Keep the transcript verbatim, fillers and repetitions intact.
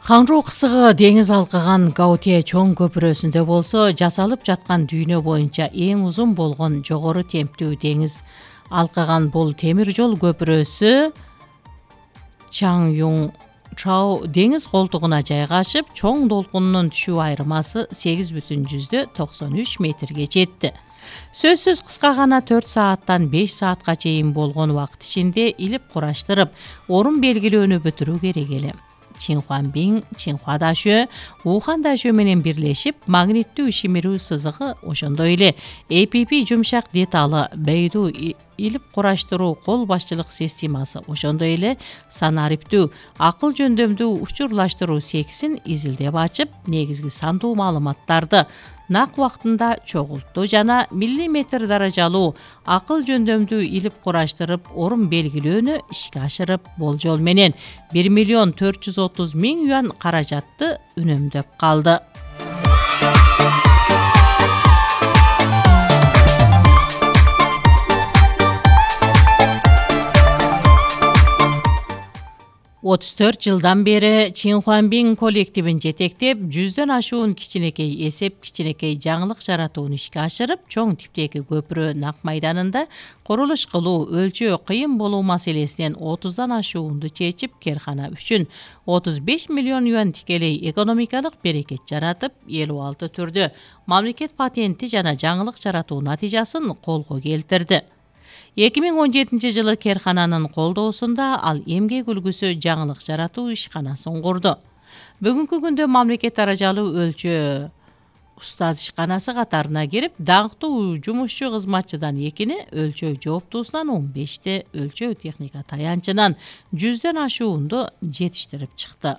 Ханжу кысыгы деңиз алкыган Гаутие чоң көпүрөсүндө болсо, жасалып жаткан дүйнө боюнча эң узун болгон жогору темптүү деңиз алкыган бул темир жол көпүрөсү Чаңюң Чао деңиз колтугуна жайгашып, чоң долкунунун түшүү айырмасы сегиз бүтүн жүздөн токсон үч метрге жетти. Сөзсүз кыска гана төрт сааттан беш саатка чейин болгон убакыт ичинде илип кураштырып, орун белгилөөнү бүтүрүү керек эле. Чинхуанбин, Чинхуа дашөө, Ухан дашөө менен бирлешип, магниттүү шимирүү сызыгы, ошондой эле A P P жумшак деталы, Бейду илип кураштыруу кол башчылык системасы, ошондой эле санариптүү, акыл жөндөмдүү учурлаштыруу сексин изилдеп ачып, негизги сандуу маалыматтарды нак убактында чогултту жана миллиметр даражалуу акыл жөндөмдүү илип кураштырып, орун белгилөөнү ишке ашырып, болжол менен бир миллион төрт жүз отуз миң юан каражатты үнөмдөп калды. отуз төрт жылдан бери Чинхуанбин коллективин жетектеп, жүздөн ашуун кичинекей эсеп, кичинекей жаңылык жаратууну ишке ашырып, чоң типтеги көпүрө Нак майданында курулуш кылуу, өлчөө кыйын болуу маселесинен отуздан ашуунду чечип, керкана үчүн отуз беш миллион юан тикелей экономикалык берекет жаратып, элүү алты түрдө мамлекет патенти жана жаңылык жаратуу натыйжасын колго келтирди. эки миң он жетинчи жылы керкананын колдоосунда ал эмгек үлгүсү жаңылык жаратуу ишканасын курду. Бүгүнкү күндө мамлекет даражалуу өлчөө устаз ишканасы катарына кирип, даңктуу жумушчу кызматчыдан экини, өлчөө жооптуусунан он бешти, өлчөө техника таянчынан жүздөн ашуунду жетиштирип чыкты.